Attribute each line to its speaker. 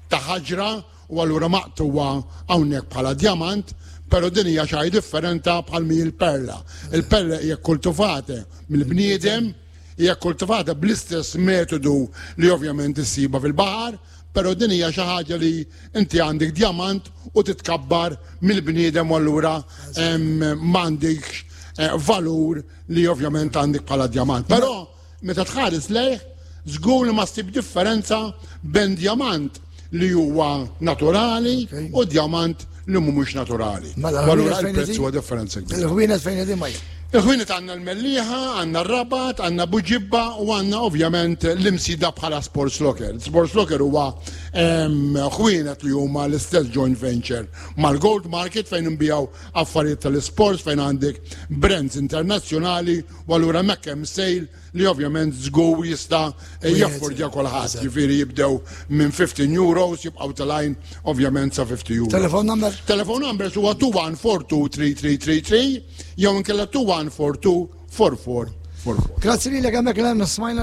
Speaker 1: Ta' ħaġra u allura maqtugħa hawnhekk bħala djamant, però din hija xi ħaġa differenta bħal mi l-perla. Il-perla hija kultivata mill-bniedem, hija kultivata bl-istess metodu li ovvjament issiba fil-baħar, però din hija xi ħaġa li inti għandek djamant u titkabbar mill-bniedem u allura m'għandekx eh, valur li ovvjament għandek bħala djamant. Però Meta tħares lejh, żgur li ma ssib differenza bejn djamant li huwa naturali u djamant li mhumiex naturali.
Speaker 2: Mela,
Speaker 1: allura il-prezz huwa differenza kbira.
Speaker 2: Il-ħwienet fejn qegħdin ma
Speaker 1: Il-ħwienet għandna l-Mellieħa, għandna r-Rabat, għandna Buġibba u għandna ovvjament l-Imsida bħala Sports Locker. Sports Locker huwa ħwienet li huma l-istess joint venture mal-Gold Market fejn nbijaw affarijiet tal-sports fejn għandek brands internazzjonali U allura hemmhekk hemm sale li ovvjament żgur jista' jaffordja kulħadd. Ġifieri jibdew minn 15 euros jibqgħu telgħin ovvjament sa 50 euros.
Speaker 2: Telefon number?
Speaker 1: Telefon numbers huwa 21423333 jew inkella 21424444.
Speaker 2: Grazzi lilek hemmhekk l smajna.